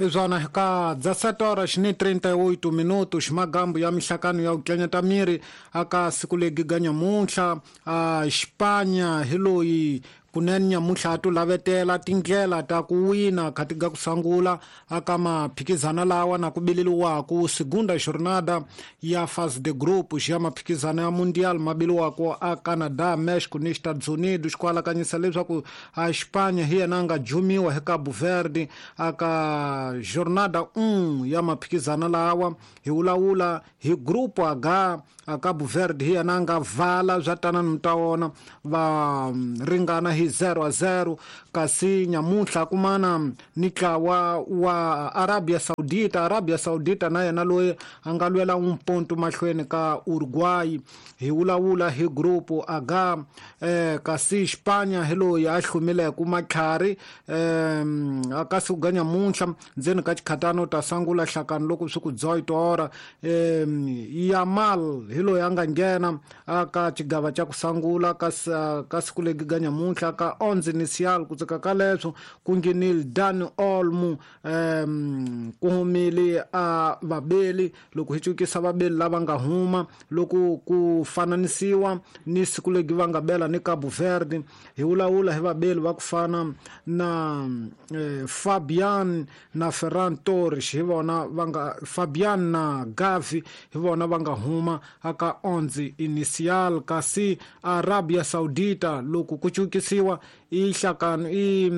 Izwana ka 17 horas ni 38 minutos magambo ya mihlakano ya ku miri aka siku legi ga nyamuntlha a Espanha hi loyi kunene nyamuntlha a to lavetela tindlela ta ku wina khati ga ku sangula aka maphikizana lawa na ku bileliwaku segunda jornada ya fase de grupos ya maphikizana ya mundial ma biliwako a Canada, Mexico ni Estados Unidos ku alakanyisa leswaku a Espanha hi yena a nga jumiwa hi Cabo Verde aka jornada 1 ya maphikizana lawa hi vulavula hi grupo H a Cabo Verde hi yena a nga vala swa tana ni ta wona va ringana hi 0-0 kasi nyamuntlha kumana ni ntlawa wa Arabia Saudita. Arabia Saudita na yena loyi a nga lwela un ponto mahlweni ka Uruguay hi vulavula hi grupo H kasi Espanha hi loyi a hlumileke matlhari aka siku ga nyamuntlha ndzeni ka xikhatano ta sangula hlakano loko swi ku 18 hora Yamal hi loyi a nga nghena aka xigava xa ku sangula ka siku legi ga nyamuntlha ka 11 inicial ku tsaka ka leswo ku nghenile Dani Olmo ku humile a vabeli loko hi cukisa vabeli lava nga huma loko ku fananisiwa ni siku legi va nga bela ni Cabo Verde hi vulavula hi vabeli va ku fana na Fabian na Ferran Torres hi vona va nga Fabian na Gavi hi vona va nga huma aka 11 inicial kasi Arabia Saudita loko ku cukisiwa i hlakano i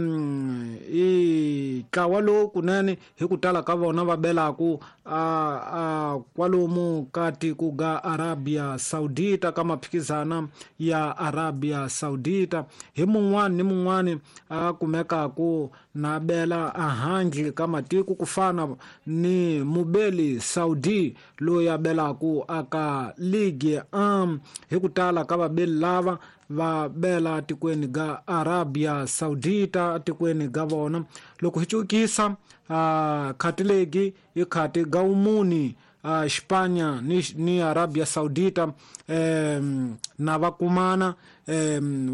ntlawa lowu kunene hi ku tala ka vona va belaku a kwalomu ka tiko ga Arabia Saudita ka maphikizana ya Arabia Saudita hi mun'wani ni mun'wani a kumekaku na bela ahandle ka matiko ku fana ni mubeli Saudi loyi a belaku aka Ligue 1 hi ku tala ka vabeli lava va bela tikweni ga Arabia Saudita tikweni ga vona loko hi cukisa khati legi i khati ga umuni Espanha ni Arabia Saudita na va kumana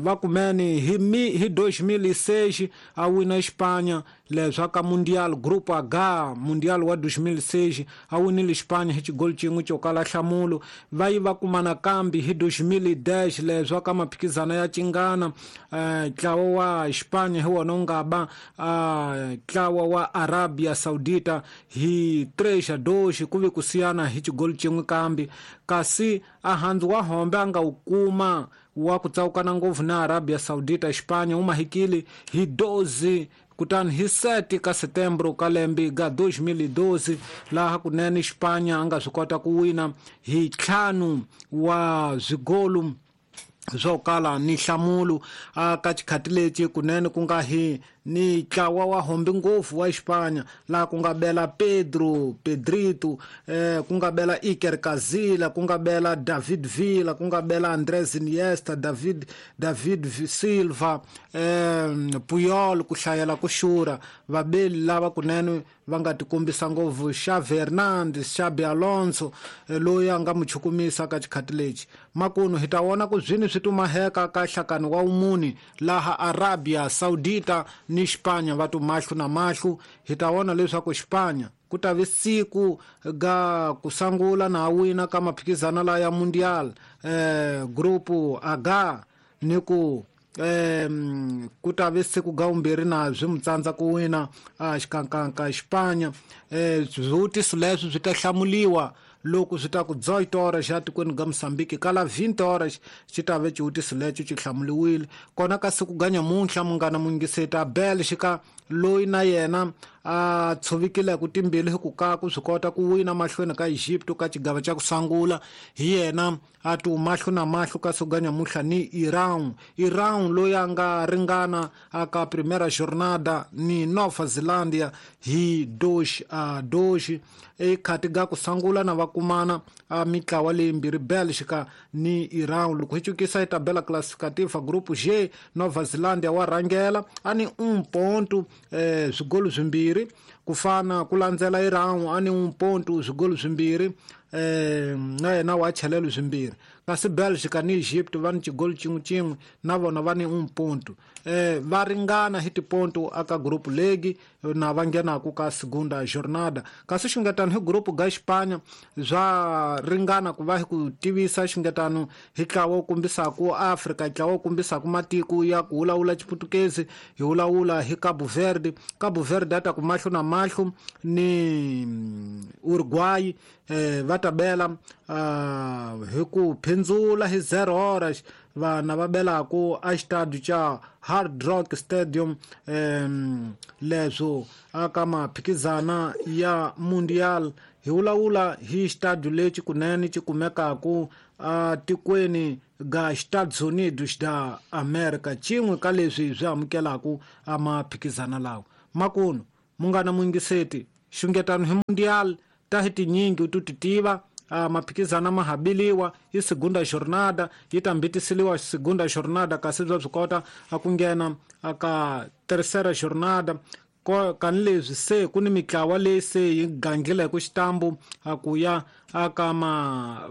va kumene hi 2006 a wina Espanha leswa ka Mundial Grupo H Mundial wa 2006 a winile Espanha hi xigoli xin'we xo kala nhlamulo va yi va kumana kambi hi 2010 leswa ka maphikizana ya cingana ntlawa wa Espanha hi wona wu nga ba ntlawa wa Arabia Saudita hi 3-2 ku ve ku siyana hi xigoli xin'we kambi kasi a handzu wa hombe a nga wu kuma wa ku tsawukana ngopfu na Arabia Saudita Espanha wu mahikile hi 12 kutani hi 7 ka Setembro ka lembe ga 2012 laha kunene Espanha a nga swi kota ku wina hi 5 wa zwigolu swo kala ni nhlamulo aka xikhati lexi kunene ku nga hi ni ntlawa wa hombe ngopfu wa Espanha laha ku nga bela Pedro Pedrito ku nga bela Iker Casillas ku nga bela David Villa ku nga bela Andres Iniesta David Silva Puyol ku hlayela ku xura vabeli lava kunene va nga tikombisa ngopfu Xavi Hernandez Xabi Alonso loyi a nga mu chukumisa ka xikhati lexi makunu hi ta vona ku zwini swi tumaheka ka hlakano wa umuni laha Arabia Saudita ni Espanha va tu mahlo na mahlo hi ta vona leswaku Espanha ku ta vi siku ga ku sangula na wina ka maphikizana la ya Mundial grupo H ni ku ku ta vi siku ga vumbirhi na swi mu tsandza ku wina xikankanka Espanha swivutiso leswi swi ta hlamuliwa loko swi ta ku 18 horas xa tikweni ga Mozambique kala 20 horas xi ta ve xivutiso lexo xi hlamuliwile kona ka siku ga nyamuntlha munghana mungiseta Belgica loyi na yena a tshovikile ku timbili hi ku ka ku swi kota ku wina mahlweni ka Egypt ka xigava xa ku sangula hi yena a tu mahlo na mahlo ka siku ga nyamuntlha ni Iran loyi a nga ringana aka primera jornada ni Nova Zelandia hi 2-2 ekhati ga ku sangula na va kumana a mitlawa leyimbirhi Belgica ni Iran loko hi cukisa hi tabela classificativa grupo G Nova Zelandia wa rhangela a ni 1 ponto swigolo swimbirhi ku fana ku landzela Iran a ni 1 ponto swigolo swimbirhi Na yena wa chelelo swimbirhi. Kasi Belgica ni Egypt va ni xigolo xin'we xin'we, na vona va ni 1 ponto. Va ringana hi tiponto aka group league na va nghenaku ka segunda jornada. Kasi xungetano hi group ga Espanha swa ringana ku va hi ku tivisa xungetano hi ntlawa wu kombisaku Afrika, ntlawa wu kombisaku matiko ya ku vulavula Xiputukezi, hi vulavula hi Cabo Verde. Cabo Verde a ta ku mahlo na mahlo ni Uruguay, va ta bela hi ku phindzula hi 0 horas vana va belaku a xitadi xa Hard Rock Stadium, leswo aka maphikizana ya Mundial. Hi vulavula hi xitadi lexi kunene xi kumekaku a tikweni ga Estados Unidos da America, xin'we ka leswi swi amukelaku a maphikizana lawa. Makuno munghana muyingiseti, xungetano hi Mundial ta hi tinyingi u ti tiva, maphikizana ma habiliwa hi segunda jornada, yi ta mbitiseliwa segunda jornada, kasi bya swi kota a ku nghena aka tercera jornada. Kani leswi se ku ni mitlawa leyi se yi gangile hi ku xitambu a ku ya aka ma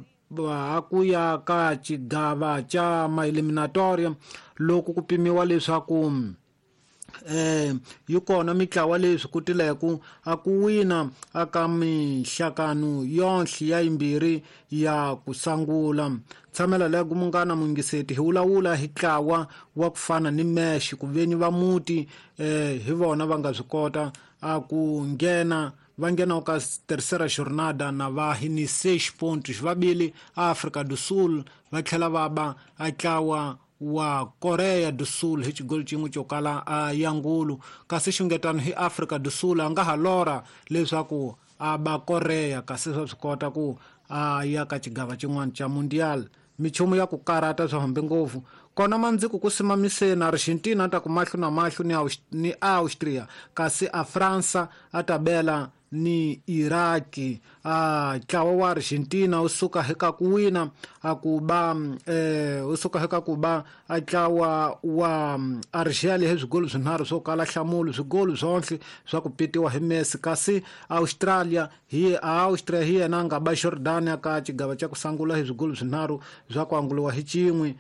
a ku ya ka xigava xa ma eliminatoria, loko ku pimiwa leswaku yi kona mitlawa leyi swi kotileku a ku wina aka mihlakano yonhle ya yimbirhi ya ku sangula. Tshamela lego munghana muyingiseti, hi vulavula hi ntlawa wa ku fana ni Mexico, ku venyi va muti hi vona va nga swi kota a ku nghena, va nghena ka tercera jornada na va hi ni 6 pontos vabili Afrika do Sul, va tlhela va ba a ntlawa wa Korea do Sul hi xigolo xin'we xo kala a yangulu. Kasi xungetano hi Afrika do Sul a nga ha lora leswaku a ba Korea, kasi swa swi kota ku a ya ka xigava xin'wana xa Mundial. Michumu ya ku karata swi hambe ngopfu kona mandziko ku simamiseni Argentina a ta ku mahlo na mahlo ni Austria, kasi a Fransa a ta bela ni Iraki. Ntlawa wa Argentina wu suka hi ka ku wina a ku ba wu suka hi ka ku ba a ntlawa wa Argelia hi swigolo swinharhu swo kala nhlamulo, swigolo swonhle swa ku pitiwa hi Messi. Kasi Australia hi Austria hi yena a nga ba Jordania ka xigava xa ku sangula hi swigolo swinharhu swa ku anguliwa hi xin'we.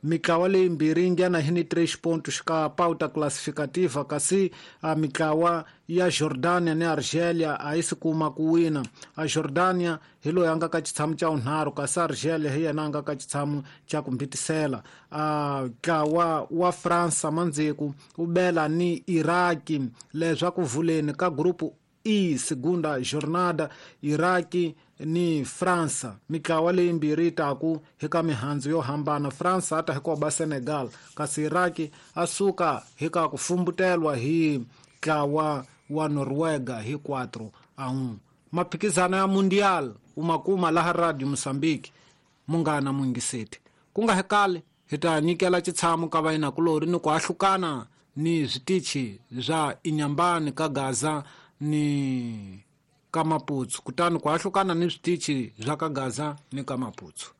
Mitlawa leyi mbirhi yi nghena hi ni 3 pontos ka pauta classificativa, kasi a mitlawa ya Jordania ni Argelia a yi si kuma ku wina. A Jordania hi loyi a nga ka xitshamo xa vunharhu, kasi Argelia hi yena a nga ka xitshamo xa ku mbitisela. A ntlawa wa Fransa mandzheku wu bela ni Iraki leswaku vuleni ka group E segunda jornada, Iraki ni Fransa. Mitlawa leyi mbirhi yi taku hi ka mihandzu yo hambana. Fransa a ta hi ku ba Senegal, kasi Iraki a suka hi ka ku fumbutelwa hi ntlawa wa Noruega hi 4-1. Maphikizano ya Mundial u ma kuma laha Radio Mozambique, munghana muyingiseti. Ku nga hekali hi ta nyikela xitshamo ka vayinakulorhi ni ku ahlukana ni switichi swa Inhambane ka Gaza ni ka Maputo, kutani ku ahlukana ni switichi swa ka Gaza ni ka Maputo.